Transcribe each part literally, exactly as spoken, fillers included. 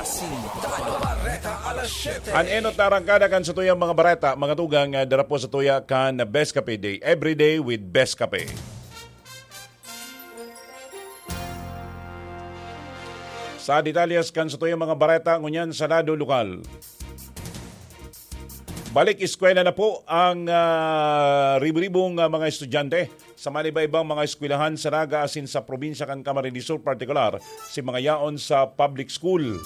Sintado Bareta alas siyete. An enot na arangkada kan satuyang mga bareta, mga tugang, ah, dara po sa tuya kan Best Cafe Day. Every day with Best Cafe. Sa detalyes kan satuyang mga bareta, ngunyan sa lado lokal. Balik eskwela na po ang, ah, ribo-ribong, ah, mga estudyante sa maniba-ibang mga eskwelahan sa Naga asin sa probinsya kan Camarines Sur, partikular si mga yaon sa public school.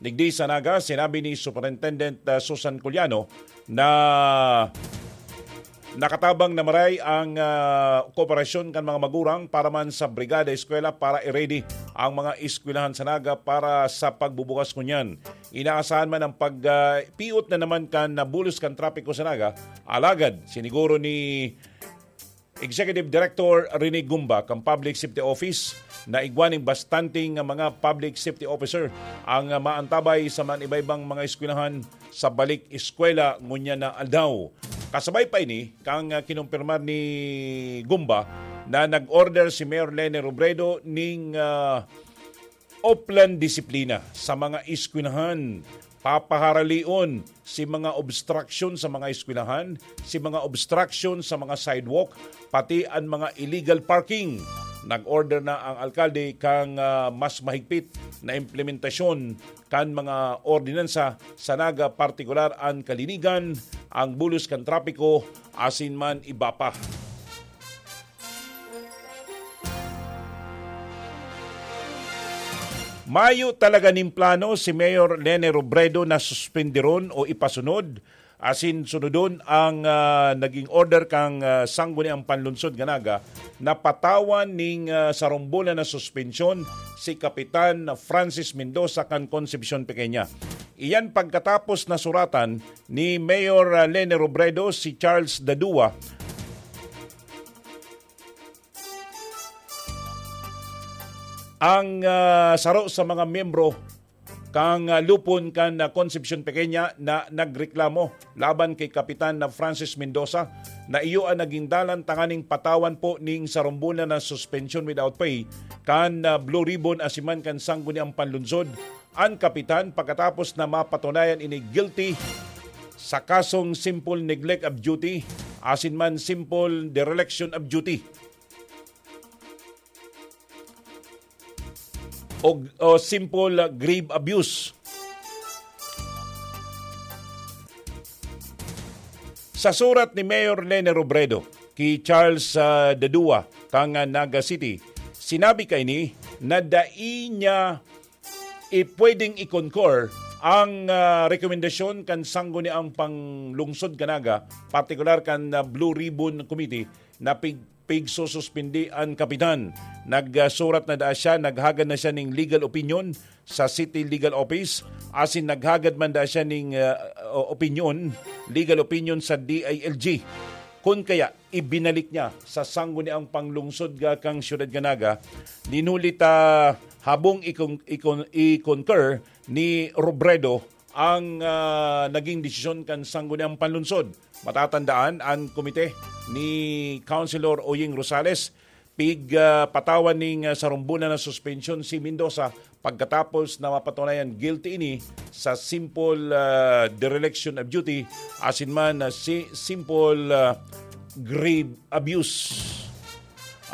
Digdi sa Naga, sinabi ni Superintendent, ah, Susan Culiano na nakatabang na maray ang, ah, kooperasyon kan mga magurang para man sa Brigada Eskwela para i-ready ang mga eskwelahan sa Naga para sa pagbubukas ngunyan. Inaasahan man ang pag, ah, piot na naman kan nabulos kan trapiko sa Naga, alagad siniguro ni Executive Director Rene Gumba kan Public Safety Office na igwa nin bastante nga mga public safety officer ang, ah, maantabay sa man iba-ibang mga eskwelahan sa balik eskwela ngunyan na aldaw. Kasabay pa ini, kan, ah, kinumpirmar ni Gumba na nag-order si Mayor Leni Robredo ning, ah, oplan disiplina sa mga eskwelahan. Papaharalion si mga obstruction sa mga eskwelahan, si mga obstruction sa mga sidewalk, pati an mga illegal parking. Nag-order na ang alkalde kan, ah, mas mahigpit na implementasyon kan mga ordinansa sa Naga, partikular an kalinigan, ang bulos kan trapiko, asin man iba pa. Mayo talaga nin plano si Mayor Leni Robredo na suspindiron o ipasunod, asin sunodon ang, ah, naging order kan, ah, Sangguniang Panlunsod kan Naga na patawan nin, ah, sarumbolan na suspensyon si Kapitan Francis Mendoza kan Concepcion Pequeña. Iyan pagkatapos na suratan ni Mayor, ah, Leni Robredo si Charles Dadua ang, ah, saro sa mga miyembro kan, ah, lupon kan, ah, Concepcion Pequeña na nagreklamo laban kay Kapitan na Francis Mendoza na iyo an naging dalan tanganing patawan po ning sarumbolan na suspension without pay kan, ah, Blue Ribbon asin man kan Sangguniang Panlunsod an kapitan pagkatapos na mapatunayan ini guilty sa kasong simple neglect of duty asin man simple dereliction of duty o, o simple, ah, grave abuse. Sa surat ni Mayor Leni Robredo ki Charles, ah, Dadua kan, ah, Naga City, sinabi kaini na dai niya i-, pwedeng i-concur ang, ah, rekomendasyon kan Sangguniang Panglungsod kan Naga, partikular kan, ah, Blue Ribbon Committee na pig-, pigsususpindi an kapitan. Nagsurat na daa siya, naghagad na siya ning legal opinion sa City Legal Office, asin naghagad man daa siya ning, ah, o-, opinion, legal opinion sa D I L G. Kun kaya, ibinalik niya sa Sangguniang Panglungsod ga kan Siyudad kan Naga, nin huli ta habong ikon-, ikon-, i-concur ni Robredo ang, ah, naging desisyon kan Sangguniang Panlunsod. Matatandaan, an komite ni Councilor Oying Rosales pig, ah, patawan ning, ah, sarumbolan na suspensyon si Mendoza pagkatapos na mapatunayan guilty ini sa simple, ah, dereliction of duty asin man, ah, si simple, ah, grave abuse.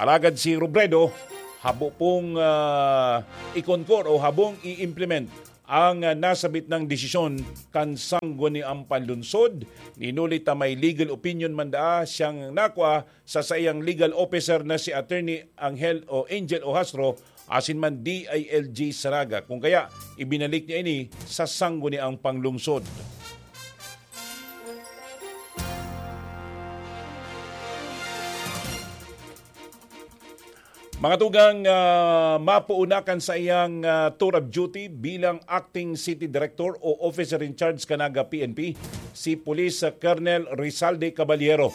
Alagad si Robredo, habo pong, ah, i-concur o habong i-implement ang, ah, nasabit nang desisyon kan Sangguniang Panlunsod. Nin huli ta may legal opinion man daa siyang nakua sa saiyang legal officer na si Attorney Angel o Angel Ohastro asin man D I L G sa Naga. Kung kaya, ibinalik niya ini sa Sangguniang Panglungsod. Mga tugang, ah, mapuuna kan saiyang, ah, tour of duty bilang acting city director o officer in charge kan Naga P N P, si Police Colonel Rizalde Caballero.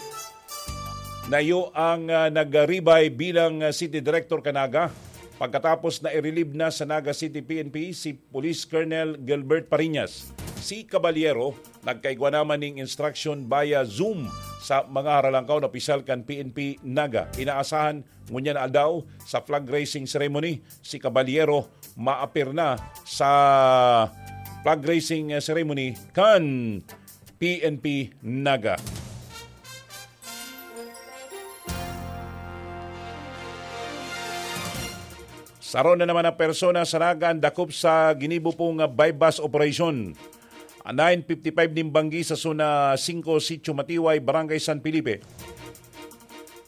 Na iyo ang, ah, nagribay bilang, ah, city director kan Naga. Pagkatapos na i-relieve na sa Naga City P N P si Police Colonel Gilbert Pariñas. Si Caballero nagkaigwa naman ning instruction via Zoom sa mga haralangkaw na opisyal kan P N P Naga. Inaasahan ngunyan na aldaw sa flag raising ceremony si Caballero maapir na sa flag raising ceremony kan P N P Naga. Saro na naman ang persona sa Naga ang dakop sa ginibo pong buy-bust operation. Nine fifty-five nin banggi sa Zona singko, Sitio Matiway, Barangay San Felipe.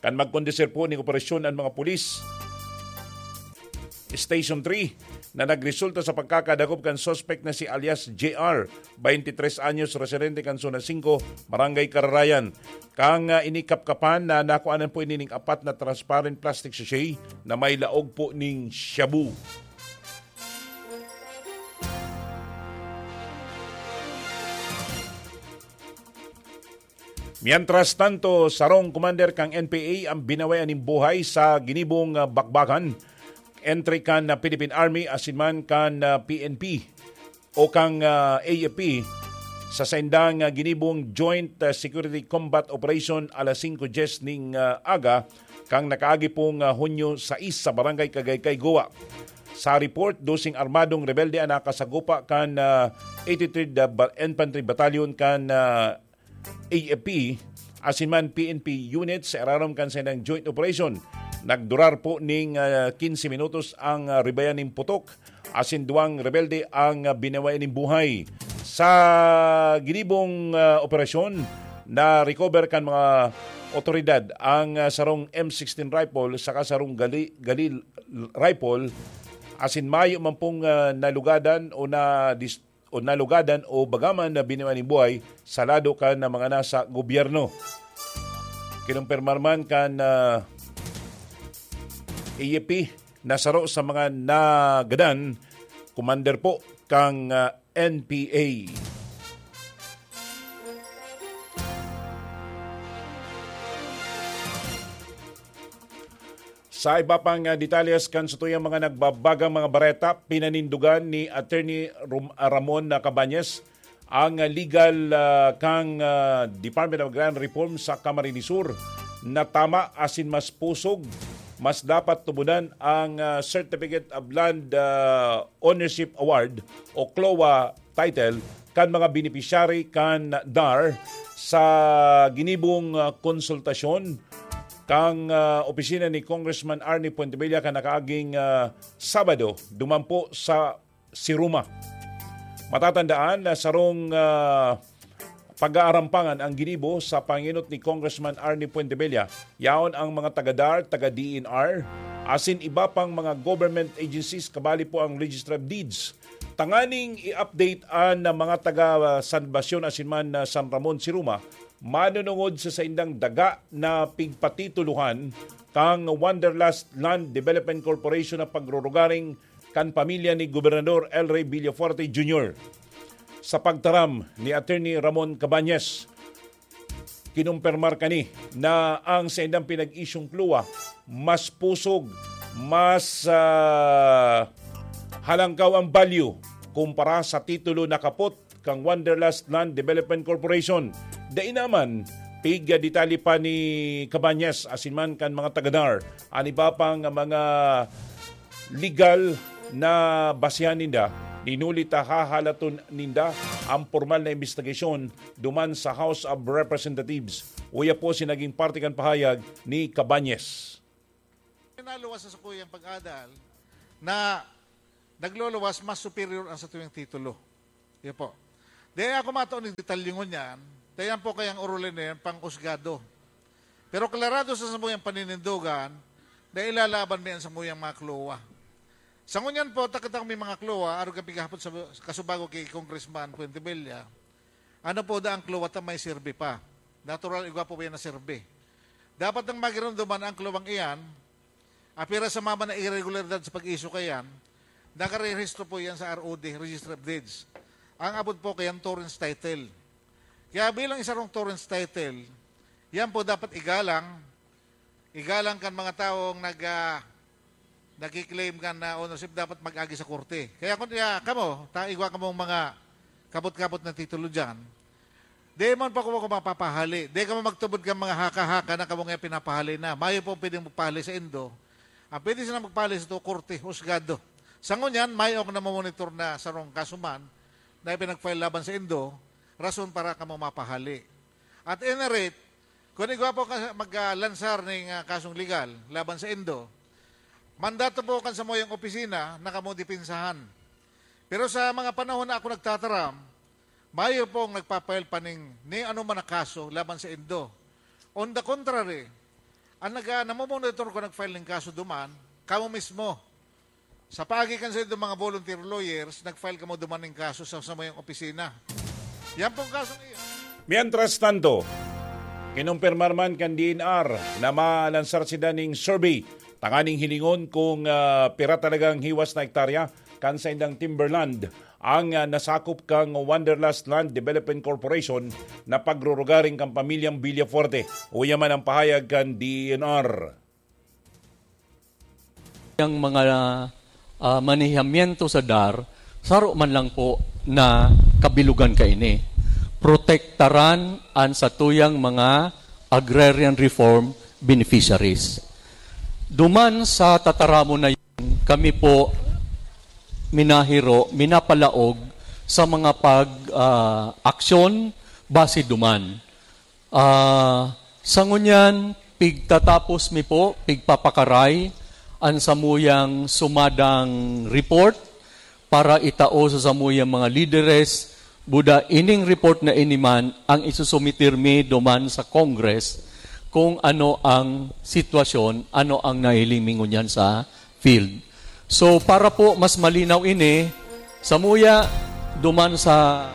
Kan magkondusir po ning operasyon ang mga pulis, Station three, na nagresulta sa pagkakadakop kan suspect na si alias J R, twenty-tres anyos, residente kan Zona singko, Barangay Kararayan. Kan, ah, inikapkapan na nakuanan po ini ning apat na transparent plastic sachet na may laog po ning shabu. Mientras tanto, sarong commander kan N P A ang binawayan nin buhay sa ginibong, ah, bakbakan entre kan, ah, Philippine Army asin man kan, ah, P N P o kan, ah, A F P sa saindang, ah, ginibong Joint, ah, Security Combat Operation alas singko dyes ning, ah, aga kan nakaagi pong, ah, Hunyo sais sa Barangay Kagaykay, Goa. Sa report, doseng armadong rebelde ang nakasagupa kan, ah, eighty-third Ba-, Infantry Battalion kan, ah, A F P, asin man P N P unit sa irarom kan saindang joint operation. Nagdurar po ning, ah, quince minutos ang, ah, ribayan nin putok, asin duwang rebelde ang, ah, binaway nin buhay. Sa ginibong, ah, operasyon, na-recover kan mga otoridad ang, ah, sarong M sixteen rifle saka sarong gali-, galil rifle, asin mayo man pong, ah, nalugadan o na-dis-, o nalugadan o bagaman na biniwaan nin buhay sa lado kan mga nasa gobyerno. Kinumpirmar man kan, ah, A F P na saro sa mga nagadan, commander po kan, ah, N P A. Sa iba pang, ah, detalles kan satuyang mga nagbabagang mga bareta, pinanindugan ni Attorney Rom-, ah, Ramon na Cabañas ang, ah, legal, ah, kan, ah, Department of Agrarian Reform sa Camarines Sur na tama asin mas pusog, mas dapat tubunan ang, ah, Certificate of Land, ah, Ownership Award o CLOA title kan mga beneficiary kan DAR sa ginibong, ah, konsultasyon kan, ah, opisina ni Congressman Arnie Fuentebella kan nakaaging, ah, Sabado, duman po sa Siruma. Matatandaan na sarong, ah, pag-aarampangan ang ginibo sa pangenot ni Congressman Arnie Fuentebella. Yaon ang mga taga DAR, taga D E N R, asin iba pang mga government agencies, kabali po ang Registry of Deeds. Tanganing i-update an mga taga San Basyon asin man, ah, San Ramon, Siruma, manunungod sa saindang daga na pigpatitulohan kang Wanderlust Land Development Corporation na pagrurugaring kan pamilya ni Gobernador El Rey Villafuerte Junior. Sa pagtaram ni Attorney Ramon Cabañas, kinumpirmar kani na ang saindang pinag-isyong CLOA mas pusog, mas, ah, halangkaw ang value kumpara sa titulo na kapot kan Wanderlust Land Development Corporation. Dai naman, pig-detalye pa ni Cabañas asin man kan mga taga DAR an iba pang mga legal na basehan ninda, hinuli ta hahalaton ninda ang pormal na imbestigasyon duman sa House of Representatives. Uya po si naging parte kan pahayag ni Cabañas. Naluwas sa sakuyang pag-adal na nagluluwas mas superior ang satuyang titulo. Yun po. Di ako matao ng detalye ngunyan, kaya po kayang orolin na yan, pang-usgado. Pero klarado sa samuyang paninindogan na ilalaban mi ang samuyang mga CLOA. Sa ngunyan po, takatang may mga CLOA, arog ang pighapot sa kasubago kay Congressman Fuentebella, ano po da ang CLOA ta may serbi pa? Natural, igwa po ba yan na serbi? Dapat nang magirunduman ang CLOA-ng iyan, apira sa mama na irregularidad sa pag-issue kayan, nakarehistro po yan sa R O D, Registry of Deeds. Ang abot po kayan, torrens title. Kaya bilang isa rong torrens title, yan po dapat igalang, igalang kan mga taong nag, ah, nagki-claim kan na ownership, dapat mag-agi sa korte. Kaya kung, kaya kamo, ta, igwa kamong mga kapot-kapot na titulo dyan, Di man pa kamo mapapahali. Di kamo magtubod kan mga haka-haka na kamo nga pinapahali na. Mayo po pwedeng magpahali sa indo. Ang pwede sila magpahali sa korte, husgado. Sa ngunyan, mayo ang namomonitor na sarong kaso man na ipinag-file laban sa indo, rason para kamo mapahali. At any rate, kung igwa po ka maglansar ning ah, kasong legal laban sa indo, mandato po kan samuyang opisina na kamo depensahan. Pero sa mga panahon na ako nagtataram, mayo pong nagpa-file pa ning ni ano man na kaso laban sa indo. On the contrary, ang nag namomonitor ko nag-file ning kaso duman, kamo mismo. Sa paagi kan sa indo mga volunteer lawyers, nag-file kamo duman ning kaso sa samuyang opisina. Yan pong kasong iyon. Mientras tanto, kinumpirmar man kan D N R na malansar sinda ning survey tanganing hilingon kung ah, pira talagang hiwas na hektarya kan saindang timberland ang ah, nasakop kang Wanderlust Land Development Corporation na pagrurugaring kan pamilyang Villafuerte. Uya man ang pahayag kan D N R. Yang mga ah, manihamiento sa dar, saro man lang po na kabilugan kaini. Protektaran an satuyang mga agrarian reform beneficiaries. Duman sa tataramon na yun, kami po minahiro, minapalaog sa mga pag ah, aksyon base duman. Ah, sa ngunyan, pigtatapos mi po, pigpapakaray an samuyang sumadang report para itao sa samuyang mga lideres. Buda ining report na ini man ang isusumitir mi duman sa Congress kung ano ang sitwasyon, ano ang nahiling mi ngunyan sa field. So, para po mas malinaw ini, samuya duman sa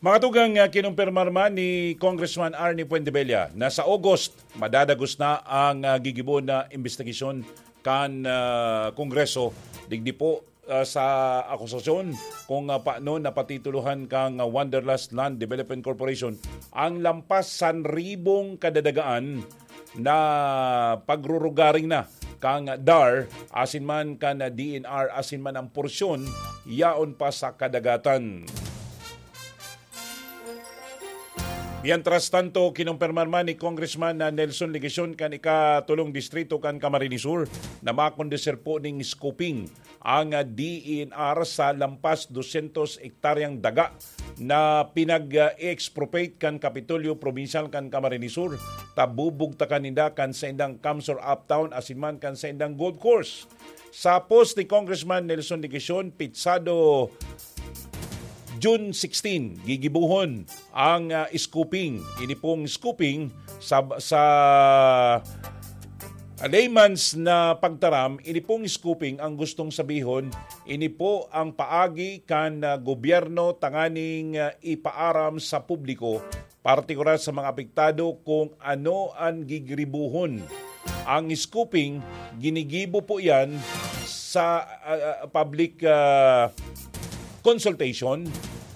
Mga tugang, ah, kinumpirmar man ni Congressman Arnie Fuentebella na sa August, madadagos na ang ah, gigibo na imbestigasyon kan ah, Kongreso digdi po ah, sa akusasyon kung ah, paano napatitulohan kang ah, Wanderlust Land Development Corporation ang lampas san ribong kadadagaan na pagrurugaring na kang dar asin man kan D N R asin man ang porsyon yaon pa sa kadagatan. Mientras tanto, kinumpirmar man ni Congressman na Nelson Legacion kan ikatulong distrito kan Camarines Sur na makondusir po ning scoping ang D N R sa lampas dosyentos hektaryang daga na pinag-expropriate kan Kapitolyo Probinsyal kan Camarines Sur, ta bubugtakan ninda kan saindang Kamsor Uptown asin man kan saindang golf course. Sa post ni Congressman Nelson Legacion, pitsado June sixteen, gigibuhon ang ah, scoping. Ini pong scoping sa, sa layman's na pagtaram, ini pong scoping ang gustong sabihon, ini po ang paagi kan ah, gobyerno tanganing ah, ipaaram sa publiko, partikular sa mga apektado, kung ano ang gigribuhon. Ang scoping, ginigibo po yan sa ah, ah, public ah, consultation,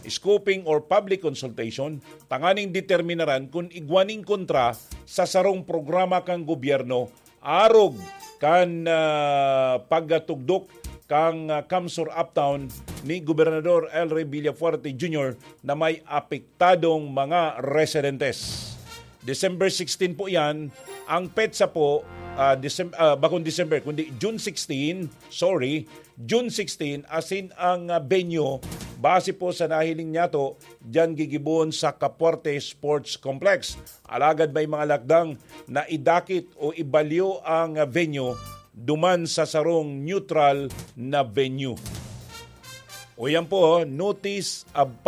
scoping or public consultation, tanganing determinaran kung igwa nin kontra sa sarong programa kan gobyerno arog kan ah, pagtugdok kan ah, Kamsur Uptown ni Gobernador El Rey Villafuerte Junior na may apektadong mga residentes. December sixteen po yan. Ang petsa po, ah, Decem- ah, bakong December, kundi June sixteen, sorry, June sixteen, asin ang ah, venue, base po sa nahiling niyato, diyan gigibohon sa Capuarte Sports Complex. Alagad may mga lakdang na idakit o ibalyo ang ah, venue duman sa sarong neutral na venue. O yan po, notice of